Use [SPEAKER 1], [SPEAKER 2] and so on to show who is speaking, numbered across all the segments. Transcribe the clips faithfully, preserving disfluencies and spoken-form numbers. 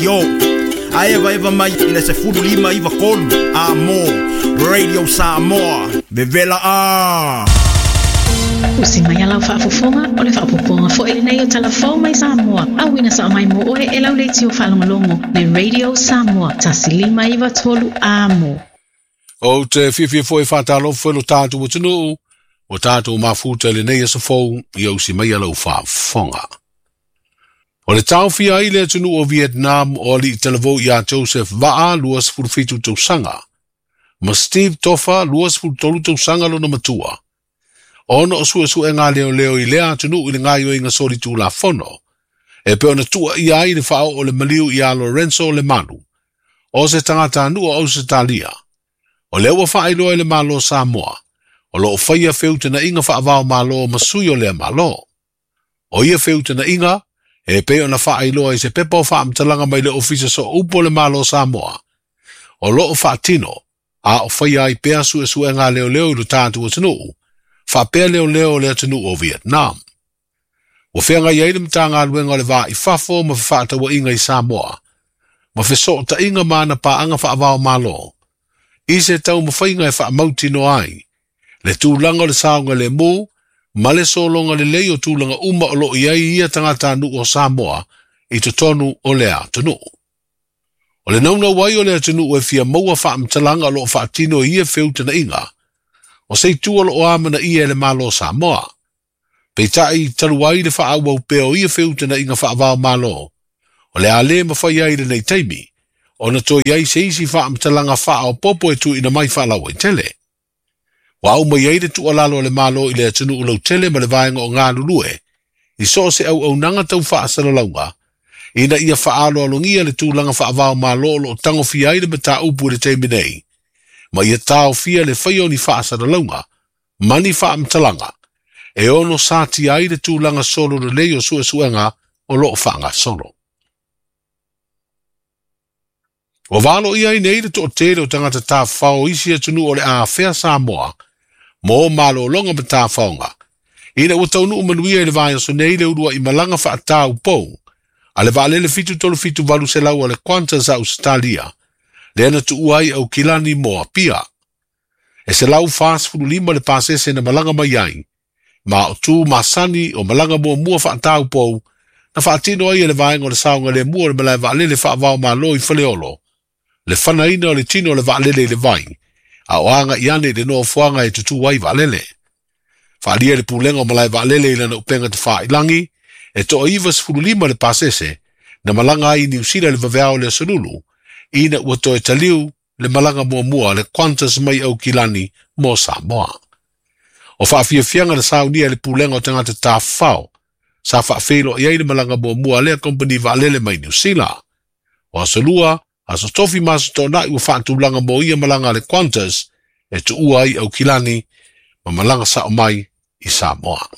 [SPEAKER 1] leitio. A eva eva mai i le sefulu lima iva kolu. A mo, Radio Samoa. Vevela a.
[SPEAKER 2] Usi mai alau faafofoga o le faapopoga foi lenei o talafou mai Samoa. Auina sa mai mo oe e lau leitio faalogologo le Radio Samoa tasi lima iva tolu amo.
[SPEAKER 3] O te fiafia foi whātalofa lo tātou atunuu, o tātou mafuta lenei aso fou i au si mai alau faafofoga. O le taofia ai le atunuu o Vietnam o alii talavou ia Joseph Va'a luasefulu fitu tausaga, ma Steve Tofa luasefulu tolu tausaga lona matua. Ona o suesuega leoleo i lea atunuu i le gaioiga solitulafono, e pe ona tua ia ai le faaoo o le maliu ia Lorenzo Lemalu, o se tagatanuu o Ausetalia. O lea ua faailoa i le Malo Samoa, o loo faia feutanaiga faavao malo ma sui o lea malo. O ia feutanaiga, e pei ona faailoa i se pepa o faamatalaga mai le Ofisa Sooupu o le Malo Samoa. O loo faatino, a o faia ai pea suesuega leoleo i lo tatou atunuu, faapea leoleo o le atunuu o Vietnam. Ua feagai ai le Matagaluega o le Va i Fafo ma fefaatauaiga i Samoa, ma fesootaiga ma ana paaga faavao malo, i se taumafaiga e faamautinoa ai, le tulaga o le saoga lemu, ma le sologa lelei o tulaga uma o loo i ai ia tagatanuu o Samoa i totonu o lea atunuu. O le naunau ai o le atunuu e fia maua faamatalaga o loo faatino i ia feutanaiga, o se itu o loo amanaia e le Malo Samoa. Peitai talu ai le faaauau pea o ia feutanaiga faavao malo, o le a le mafai ai lenei taimi, ona toe ai se isi faamatalaga faaopopo e tuuina mai faalauaitele. Ua au mai ai le tuualalo a le Malo i le atunuu lautele ma le vaega o galulue, i so o se auaunaga tau faasalalauga, ina ia faaaloalogia le tulaga faavao malo o loo tagofia ai le mataupu i le taimi nei, ma ia taofia le faia o ni faasalalauga, ma ni faamatalaga, e ono satia ai le tulaga solo lelei o suesuega o loo faagasolo. Ua valo ia ai nei le toatele o tagata tafafao o isi atunuu o le afea Samoa, mo malologa ma tafaoga, ina ua taunuu manuia i le vaiaso nei le uluai malaga faataupou, a le vaalele fitu tolu fitu valu selau a le Qantas a Ausetalia, lea na tuua ai Aukilani mo Apia. E selau fasefulu lima le pasese na malaga mai ai, ma o tu masani o malaga muamua faataupou, na faatino ai e le vaega o le saogalemu o le malae vaalele faavao malo i Faleolo, le fanaina o le tino o le vaalele i le vai, a o aga i ane i le nofoaga e tutū ai vaalele. Faalia le pulega o malae vaalele i lana upega tafailangi, e toaiva sefulu lima le pasese, na malaga ai i Niu Sila le vaveao le asolulu, ina ua toe taliu le malaga muamua le Qantas mai Aukilani mo Samoa. O faafiafiaga na saunia e le pulega o tagata tafafao, sa faafeiloai ai le malaga muamua lea kompani vaalele mai Niu Sila. O aso lua, aso tofi ma aso toonai ua faatulaga mo ia malaga a le Qantas e tuua ai Aukilani ma malaga sao mai i Samoa.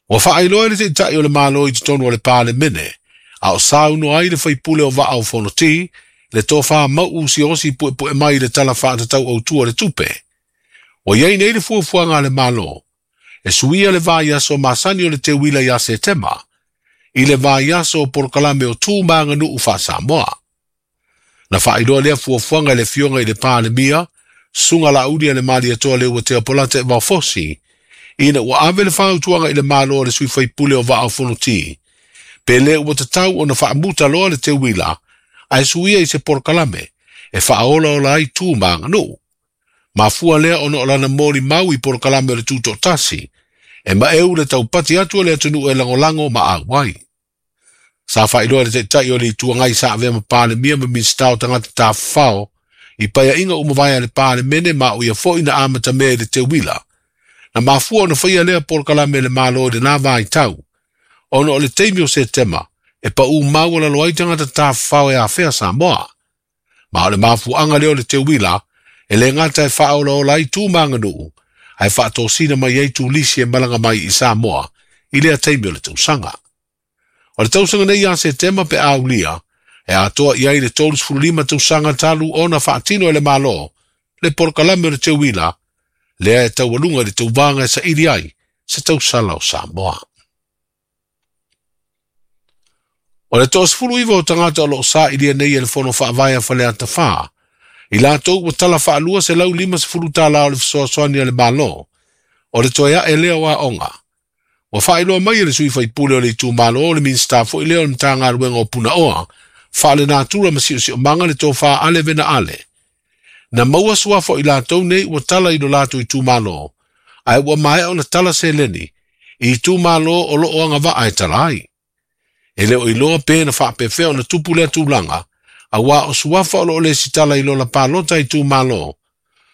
[SPEAKER 3] Ua faailoa e le taitai o le Malo i totonu o le Palemene, a o saunoa ai le faipule o Vaa o Fonoti, le tofa mau siosi puepue mai le tala faatatau autua le tupe. Ua iai nei le fuafuaga a le Malo, e suia le vaiaso masani o le teuila ia Setema, i le vaiaso o polokalame o tu ma aganuu faa-Samoa. Na faailoa lea fuafuaga i le fioga i le Palemia, suga lauli a le Malietoa le Uatea Polata e Vaofosi, ina ua ave le fautuaga i le Malo o le sui faipule o Vaa o Fonoti, pe le ua tatau ona faamuta loa le teuila, ae suia i se polokalame, e faaolaola ai tu ma aganuu. Mafua lea ona o lana molimau i polokalame o le tutoatasi, e maeu le taupati atu o le atunuu e lagolago ma auai. Sa faailoa le taitai o le Itu Agai sa avea ma Palemia ma Minisita o tagata tafafao, i paiaiga uma vae a le Palemene ma o ia foi na amatamea i le teuila. Na mafua ona faia lea polokalame e le Malo i lena vaitau, ona o le taimi o Setema, e paū maualalo ai tagata tafafao e afea Samoa. Ma o le mafuaaga lea o le teuila, e le gata e faaolaola ai tu ma aganuu, ae faatosina mai ai tulisi e malaga mai i Samoa i lea taimi o le tausaga. O le tausaga nei ia Setema pe aulia, e atoa i ai le tolusefulu lima tausaga talu ona faatino e le Malo, le polokalame o le teuila, lea e taualuga i le tauvaga e saili ai se tausala o Samoa. O le toasefulu iva o tagata o loo sailia nei e le fono faavae a Faleata Fā. I latou ua tala faalua selau lima sefulu tālā o le fesoasoani a le Mālō. O le toe ae lea o aoga. Ua faailoa mai e le sui faipule o le itumalo o le Minisita foi lea o le Matagaluega o Punaoa, faalenatura ma siosiomaga le tofā ale vena ale. Na maua suafa o i latou nei ua tala i lo latou itumalo, ae ua maea ona tala seleni i itumalo o loo agavaa e tala ai. E le o iloa pe na faapefea ona tupu lea tulaga, auā o suafa o loo lesitala i lola palota itumalo,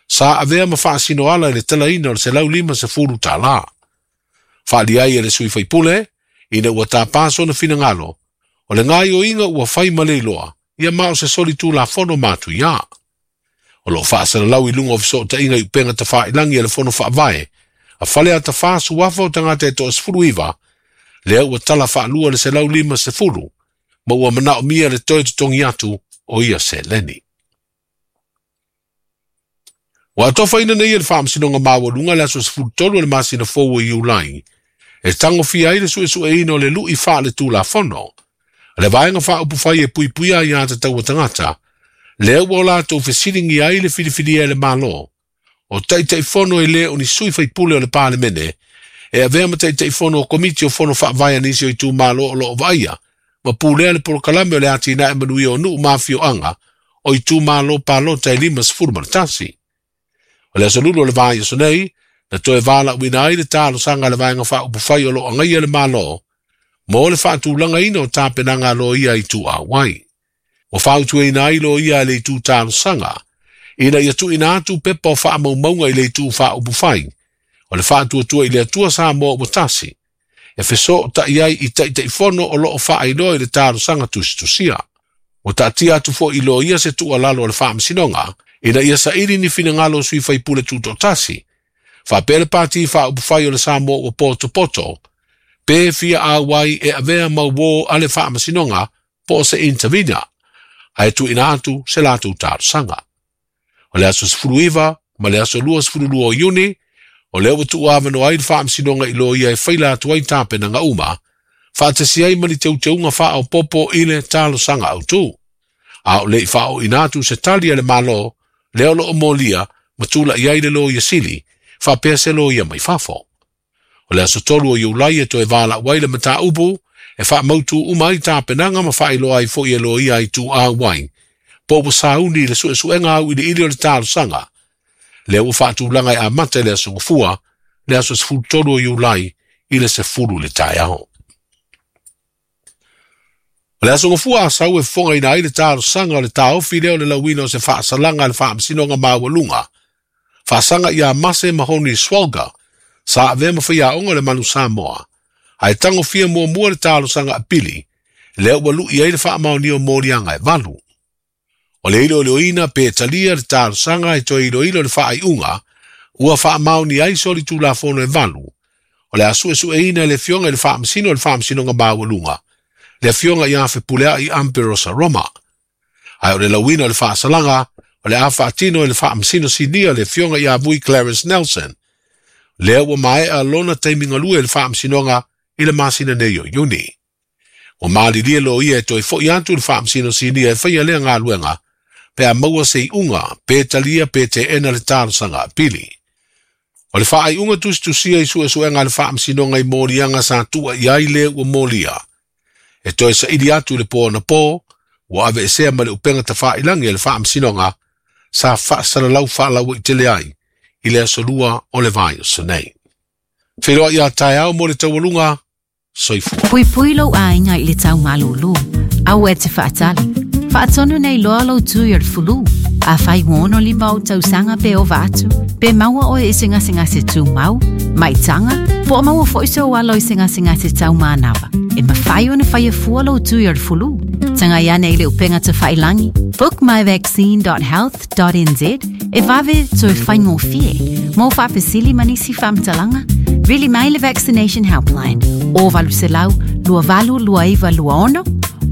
[SPEAKER 3] sa avea ma faasinoala i le talaina o le selau lima sefulu tālā. Faali ai e le sui faipule, ina ua tapā sona finagalo, o le gaoioiga ua fai ma le iloa, ia ma o se soli tulafono matuiā. O loo faasalalau i luga o fesootaiga i upega tafailagi a le fono faavae, a Faleata Fā suafa o tagata e toasefulu iva, lea ua tala faalua le selau lima sefulu, ma ua manaomia le toe totogi atu o ia seleni. Ua atofaina nei e le faamasinoga maualuga le aso sefulu tolu o le masina fou o Iulai, e tagofia ai le suesueina o le lui faaletulafono, le vaega faaupufai e puipuia aiā tatau a tagata, lea ua o latou fesiligia ai le filifilia e le Mālō, o taitaifono e lē o ni sui faipule o le Palemene, e avea ma taitaifono o komiti o fono faavae a nisi o itumalo o loo vaaia, ma pulea le polokalame o le atinae manuia o nuu ma afioaga o itumalo palota e lima sefulu ma le tasi. O le aso lulu o le vaiaso nei, na toe valaauina ai le talosaga a le vaega faaupufai o loo agaia le Mālō, mo le faatulagaina o tapenaga a loia i tuuauai. Ua fautuaina ai loia e le itu talosaga, ina ia tuuina atu pepa o faamaumauga i le itu faaupufai, o le faatuatua i le Atua Samoa ua tasi, e fesootai ai i taitaifono o loo faailoa i le talosaga tusitusia. Ua taatia atu foi i loia se tuualalo a le faamasinoga, ina ia saili ni finagalo o sui faipule tutoatasi, faapea le pati faaupufai o le Samoa ua potopoto, pe fia auai e avea mauō a le faamasinoga po o se intervenor, ae tuuina atu se latou talosaga. O le aso sefulu iva ma le aso lua sefulu lua o Iuni, o lea ua tuuavanoa ai le faamasinoga i loia e faila atu ai tapenaga uma, faatasi ai ma ni teuteuga faaopopo i le talosaga autū. A o le'i faao'oina atu se tali a le Mālō, lea o loo molia ma tula'i ai le loia sili, faapea se loia mai fafo. O le aso tolu o Iulai e toe valaau ai le mataupu, e faamautu uma ai tapenaga ma faailoa ai foi e loia i tuuauai, po ua sauni i le suesuega auiliili o le talosaga, lea ua faatulaga e amata i le aso Gafua, le aso sefulu tolu o Iulai i le sefulu le taeao. O le aso Gafua Asau e fofogaina ai le talosaga o le taofi lea o le lauina o se faasalaga a le faamasinoga maualuga, faasaga ia Mase Mahoni Swalga, sa avea ma faiaoga o le Manu Samoa, ae tagofia muamua le talosaga apili, lea ua lui ai le faamaonia o moliaga e valu. O le iloiloina pe talia le talosaga e toe iloilo le faaiuga, ua faamaonia ai soli tulafono e valu. O le a suesueina e le afioga i le faamasino o le faamasinoga maualuga, le afioga ia Fepuleai Amperosa Roma. Ae o le lauina o le faasalaga, o le a faatino e le faamasino sinia le afioga ia Vui Clarence Nelson, lea ua maea lona taimi galue i le faamasinoga i le masina nei o Iuni. Ua malilie loia e toe foi atu le faamasino sinia e faia lea galuega, pe a maua se iuga, pe talia pe teena le talosaga apili. O le faaiuga tusitusia i suesuega a le faamasinoga i moliaga sa tuua i ai le ua molia. E toe saili atu i le po anapō, ua aveesea ma le upega tafailagi a le faamasinoga, sa faasalalau faalauaitele ai i le aso lua o le vaiaso nei. Feiloai ia taeao mo le taualuga, soifua.
[SPEAKER 4] Puipui lou aiga i le tau malūlū. Aua e te faatali. Faatonu nei loa lou tui o le fulu. Afai ua ono lima ou tausaga pe ova atu, pe maua oe i se gasegase tumau, maitaga, po o maua foi sou alo i se gasegase taumanava. E mafai ona faia fua lou tui o le fulu. Tagai ane i le upega tafailagi book my vaccine dot health dot n z e vave toe faigofie. Mo faafesili ma nisi faamatalaga, vili mai le Vaccination Helpline o valu selau lua valu lua iva lua ono,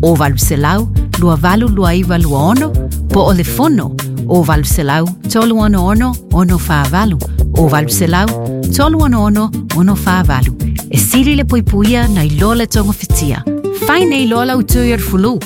[SPEAKER 4] o valu selau lua valu lua iva lua ono, po o le fono o valu selau tolu ono ono ono wha valu, o valu selau tolu ono ono ono wha valu. E sili le puipuia na iloa le togafitiga. Fai nei loa lau tui o le fulu.